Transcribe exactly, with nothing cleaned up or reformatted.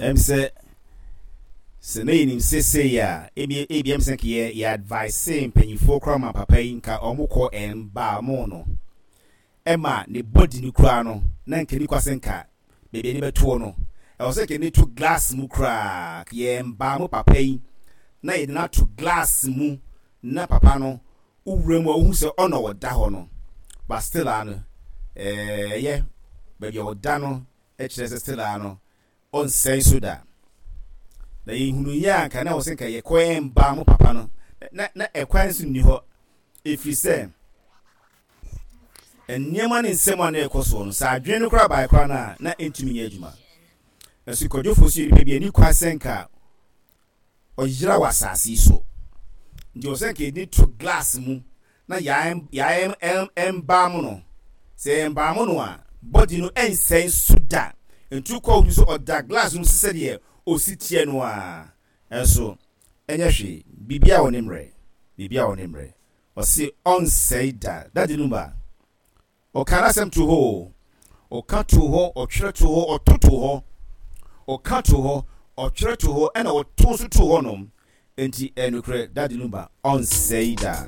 Ɛm sɛ sɛ na yɛnim sesei a, ebi ebi ɛm sɛ nka yɛ yɛ advice mpanyinfoɔ koraa ma papa yi nka ɔmo kɔ ɛnbaa no ɛma ne body no koraa no, na nka ni kwasɛ nka beebi ani bɛtoɔ no, ɛwɔ sɛ nka ne to glass mu koraa. Yɛn mo papa yi na yɛde no ato glass mu na papa no wowura mu a, wohu sɛ ɔna ɔda hɔ no. But still a no, ɛyɛ baabi a ɔda no kyerɛ sɛ still a no ɔnsɛn so da. Na yɛhunu yɛ a, nka na wɔ sɛ nka yɛkɔ ɛmba mo papa no na na ɛkwan nso nni hɔ, ɛfiri sɛ nneɛma ne nsɛm a na ɛkɔ soɔ no, sɛ adwene no koraa bae koraa no a, na ɛntumi nyɛ adwuma. Ɛso kwadwofoɔ so yɛ nipa bi ani kwa sɛ nka ɔyera wɔ asase yi so, nti wɔ sɛ nka yɛde to glass mu na yɛayɛ ɛmbaa mu no. Sɛ ɛmbaa mu no a, body no ɛnsɛn so da. Ntu kɔ obi so ɔda glass mu sɛ sɛdeɛ osi teɛ no a, ɛnso ɛnyɛ hwee. Biribiara wɔ ne mmerɛ, biribiara wɔ ne mmerɛ. Ɔsi ɔnsɛe da. Daddy Lumba ɔka n'asɛm to hɔ, ɔka to hɔ, ɔtwerɛ to hɔ, ɔto to hɔ, ɔka to hɔ, ɔtwerɛ to hɔ, ɛna ɔto nso to hɔ nom. Nti ɛnukurɛ, Daddy Lumba ɔnsɛe da.